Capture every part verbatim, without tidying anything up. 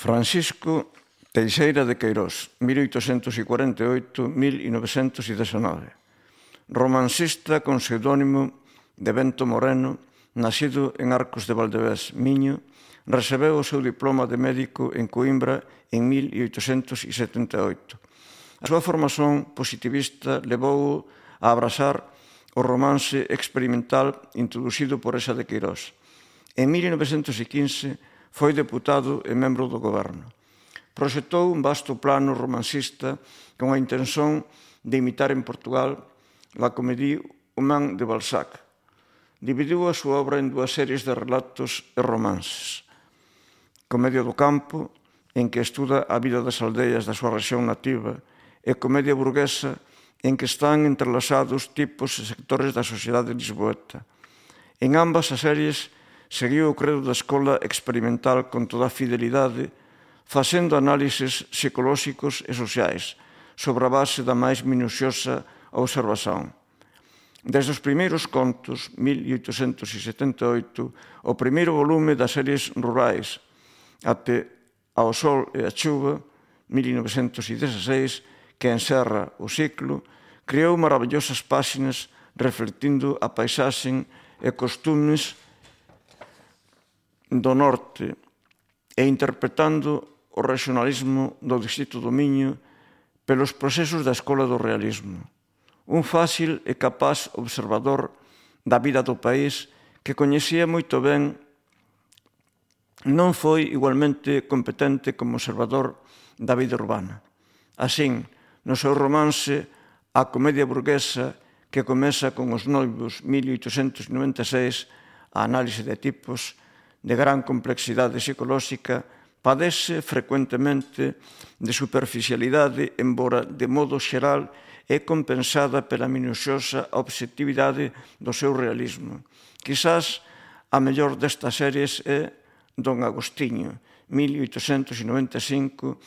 Francisco Teixeira de Queirós, mil oitocentos cuarenta e oito a mil novecentos dezanove. Romancista con pseudónimo de Bento Moreno, nacido en Arcos de Valdevés, Miño, recebeu o seu diploma de médico en Coimbra en mil oitocentos setenta e oito. A súa formación positivista levou a abrasar o romance experimental introducido por esa de Queirós. En mil novecentos quince foi deputado e membro do goberno. Proxectou un vasto plano romancista con a intención de imitar en Portugal la Comédie humaine de Balzac. Dividiu a súa obra en dúas series de relatos e romances. Comedia do campo, en que estuda a vida das aldeas da súa rexión nativa, e comedia burguesa, en que están entrelazados tipos e sectores da sociedade lisboeta. En ambas as series seguiu o credo da escola experimental con toda a fidelidade, facendo análises psicolóxicos e sociais sobre a base da máis minuciosa observación. Desde os primeiros contos, mil oitocentos setenta e oito, o primeiro volume das series rurais, até Ao sol e a chuva, mil novecentos dezasseis, que encerra o ciclo, creou maravillosas páxinas reflectindo a paisaxe e costumes do norte e interpretando o regionalismo do distrito do Miño pelos procesos da escola do realismo. Un fácil e capaz observador da vida do país que coñecía moito ben, non foi igualmente competente como observador da vida urbana. Así, no seu romance A comedia burguesa, que comeza con Os noivos, mil oitocentos noventa e seis, a análise de tipos de gran complexidade psicolóxica, padece frecuentemente de superficialidade, embora de modo xeral é compensada pela minuciosa obxectividade do seu realismo. Quizás a mellor destas series é Don Agostinho, mil oitocentos noventa e cinco,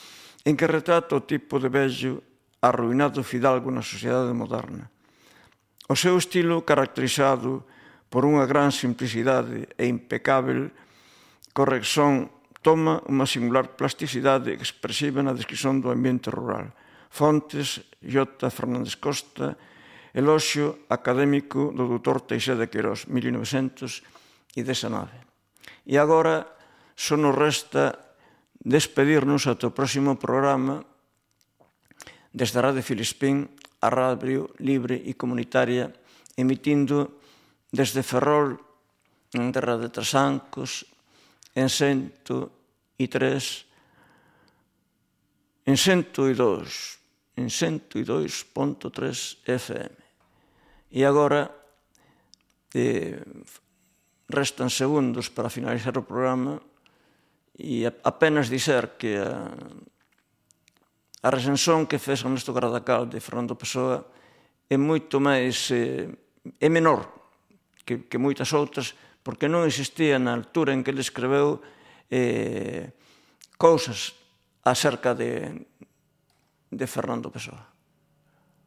en que retrata o tipo de vello arruinado fidalgo na sociedade moderna. O seu estilo, caracterizado por unha gran simplicidade e impecável corrección, toma unha singular plasticidade expresiva na descripción do ambiente rural. Fontes, J. Fernández Costa, eloxio académico do doutor Teixeira de Queirós, mil novecentos dezanove. E agora só nos resta despedirnos ata o próximo programa desde a Radio Filispín, a radio libre e comunitaria, emitindo desde Ferrol, en terra de Trasancos, en cento e tres, en cento e dous, en cento e dous punto tres F M. E agora eh, restan segundos para finalizar o programa e apenas dizer que a A recensión que fez Ernesto Gardacal de Fernando Pessoa é moito máis, é menor que, que moitas outras, porque non existía na altura en que ele escreveu eh, cousas acerca de, de Fernando Pessoa.